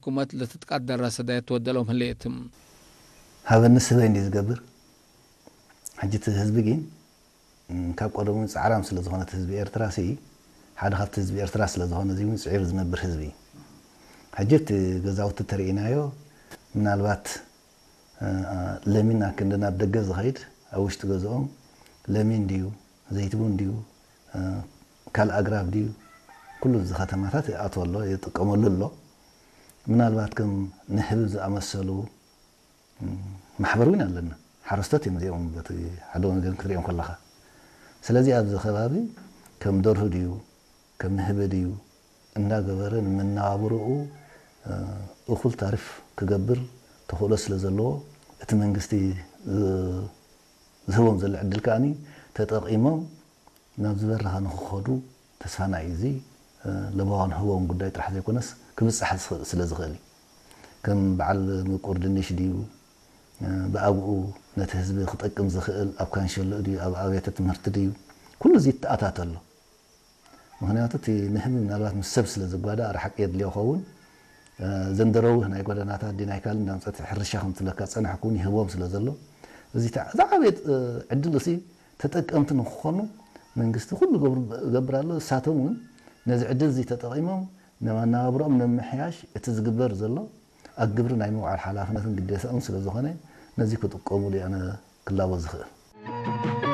حكومة لتتقدر رصد يتودلهم هليتم. ሃበኒ ስበይ እንዲ ዝገብር። ሕጂ እቲ ህዝቢ ግን እም፣ ካብ ቀደሙ ጻዕራም ስለ ዝኾነ እቲ ህዝቢ ኤርትራ ሲ ሓደ ካብቲ ህዝቢ ኤርትራ ስለ ዝኾነ እዚ እውን ጽዒሩ ዝነብር ህዝቢ እዩ። ሕጂ እቲ ገዛውቲ ተርእናዮ ምናልባት እ፣ ለሚን ኣክንዲ ናብ ደገ ዝኸይድ ኣብ ውሽጢ ገዝኦም ለሚን ድዩ ዘይትቡን ድዩ እ፣ ካልእ ኣግራብ ድዩ ኩሉ እዚ ከተማታት ይኣትዎ ኣሎ ይጥቀመሉ ኣሎ። ምናልባት ከም ንህቢ ዝኣመሰሉ ማሕበር እውን ኣለና። ሓረስቶት እዮም እዚኦም በቲ ሓደ ወገን ክትሪኦም ከለኻ። ስለዚ ኣብዚ ከባቢ ከም ደርሁ ድዩ ከም ንህቢ ድዩ እንዳገበረ ንመነባብርኡ እኹል ታሪፍ ክገብር ተኽእሎ ስለ ዘለዎ እቲ መንግስቲ ዝህቦም ዘሎ ዕድል ከኣ ተጠቒሞም ናብ ዝበረኻ ንክኸዱ ተስፋና እዩ። እዚ ለበዋ ንህቦም ጉዳይ ጥራሕ ዘይኮነስ ክብጻሕ ስለ ዝኽእል እዩ። ከም በዓል ምቁር ድንሽ ድዩ ብኣብኡ ነቲ ህዝቢ ክጠቅም ዝኽእል ኣብ ካንሸሎ ድዩ ኣብ ኣብያተ ትምህርቲ ድዩ ኩሉ እዚ ይተኣታተሎ። ምኽንያቱ እቲ ንህቢ ምናልባት ምስ ሰብ ስለ ዝጓዳእ ርሓቅ የድልዮ ኸውን። ዘንደረውህ ናይ ጎደናታት ድዩ ናይ ካልእ እንዳምፀት ሕርሻ ከም ትብለካ ፀናሕኩ እውን ይህቦም ስለ ዘሎ እዚ ዝዓበየ ዕድል እሲ ተጠቀምቲ ንክኾኑ መንግስቲ ኩሉ ገብር ኣሎ። እሳቶም እውን ነዚ ዕድል እዚ ተጠቒሞም ንመናባብሮኦም ንምምሕያሽ እቲ ዝግበር ዘሎ ኣብ ግብሪ ናይ ምውዓል ሓላፍነትን ግዴታኦም ስለ ዝኾነ ነዚ ክጥቀሙሉ ኣነ ክላቦ ዝኽእል።